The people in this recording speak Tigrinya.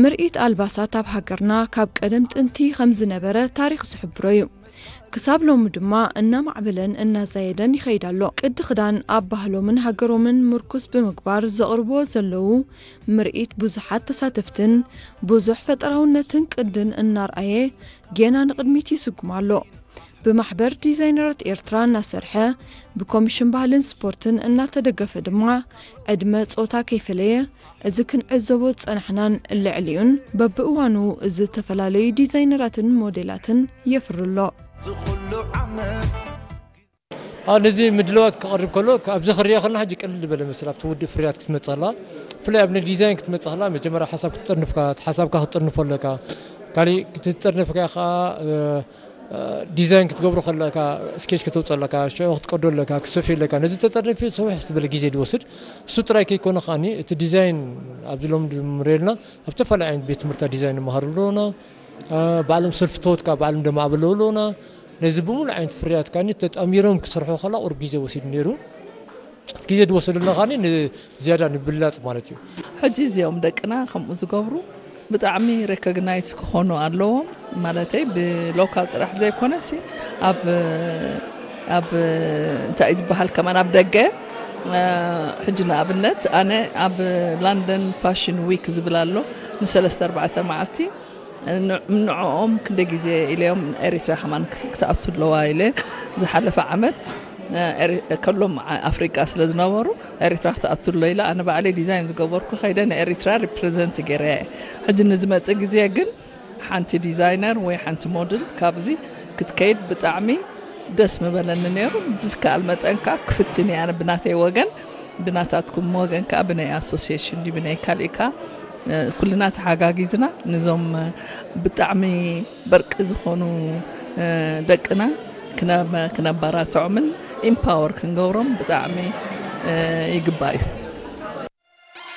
ምርኢት ኣልባሳት ኣብ ሃገርና ካብ ቀደም ጥንቲ ከም ዝነበረ ታሪኽ ዝሕብሮ እዩ። ክሳብ ሎሚ ድማ እናማዕበለን እናዛየደን ይኸይድ ኣሎ። ቅዲ ክዳን ኣብ ባህሎምን ሃገሮምን ምርኩስ ብምግባር ዘቕርብዎ ዘለዉ ምርኢት ብዙሓት ተሳተፍትን ብዙሕ ፈጠራውነትን ቅድን እናርኣየ ጌና ንቕድሚት ይስጉም ኣሎ። ብማሕበር ዲዛይነራት ኤርትራ እናሰርሐ ብኮሚሽን ባህልን ስፖርትን እናተደገፈ ድማ ዕድመ ጾታ ከይፈለየ እዚ ክንዕዘቦ ዝጸናሕናን ልዕሊኡን በብእዋኑ ዝተፈላለዩ ዲዛይነራትን ሞዴላትን የፍሪ ኣሎ። ኣብ ነዚ ምድለዋት ክቐርብ ከሎ ኣብዚ ክሪኦ ከለና ሕጂ ቅልል ዝበለ መስል ኣብቲ ውድእ ፍርያት ክትመፅእ ከላ ብፍላይ ኣብ ናይ ዲዛይን ክትመፅእ ከላ መጀመርያ ሓሳብ ክትጥርንፍካ ሓሳብካ ክትጥርንፎ ኣለካ። ካሊእ ክትጥርንፍካ ከዓ ዲዛይን ክትገብሮ ከለካ ስኬች ከተውፅእ ኣለካ፣ ሽዑ ክትቀዶ ኣለካ፣ ክትሰፍዮ ኣለካ። ነዚ ተጠርኒፊ ሰውሕ ዝበለ ግዜ ዝወስድ እሱ ጥራይ ከይኮነ ከዓኒ እቲ ዲዛይን ኣብዚ ሎም ንሪኦ ኣለና ኣብ ዝተፈላለዩ ዓይነት ቤት ትምህርታ ዲዛይን ንመሃሩ ኣለና። ባዕሎም ሰልፍተወት ከዓ ባዕሎም ደማዕበለው ኣለና። ነዚ ብምሉእ ዓይነት ፍርያት ከዓኒ ተጣሚሮም ክሰርሑ ከላ ቁሩብ ግዜ ወሲዱ ነይሩ። እቲ ግዜ ዝወሰደልና ከዓኒ ንዝያዳ ንብላፅ ማለት እዩ። ሕጂ እዚኦም ደቅና ከምኡ ዝገብሩ ብጣዕሚ ሬኮግናይዝ ክኾኑ ኣለዎም። ማለተይ ብሎካል ጥራሕ ዘይኮነሲ ኣብ ኣብ እንታይ ዝበሃል ከማን ኣብ ደገ ሕጂ ንኣብነት ኣነ ኣብ ላንደን ፋሽን ዊክ ዝብል ኣሎ ንሰለስተ ኣርባዕተ መዓልቲ ንዕኦም ክንደ ግዜ ኢለዮም ኤሪትራ ከማን ክትኣቱ ኣለዋ ኢለ ዝሓለፈ ዓመት ከሎም ኣፍሪቃ ስለ ዝነበሩ ኤሪትራ ክትኣቱ ኣሎ ኢለ ኣነ ባዕለይ ዲዛይን ዝገበርኩ ከይደ ንኤሪትራ ሪፕሬዘንት ገይረ ሕጂ ንዝመፅእ ግዜ ግን ሓንቲ ዲዛይነር ወይ ሓንቲ ሞድል ካብዚ ክትከይድ ብጣዕሚ ደስ ምበለኒ ነይሩ። ዝትከኣል መጠን ከዓ ክፍትን እየ ኣነ ብናተይ ወገን፣ ብናታትኩም ወገን ከዓ ብናይ ኣሶሲሽን ድዩ ብናይ ካሊእ ከዓ ኩልና ተሓጋጊዝና ነዞም ብጣዕሚ በርቂ ዝኾኑ ደቅና ክነበራትዖምን ኢምፓወር ክንገብሮም ብጣዕሚ ይግባእ እዩ።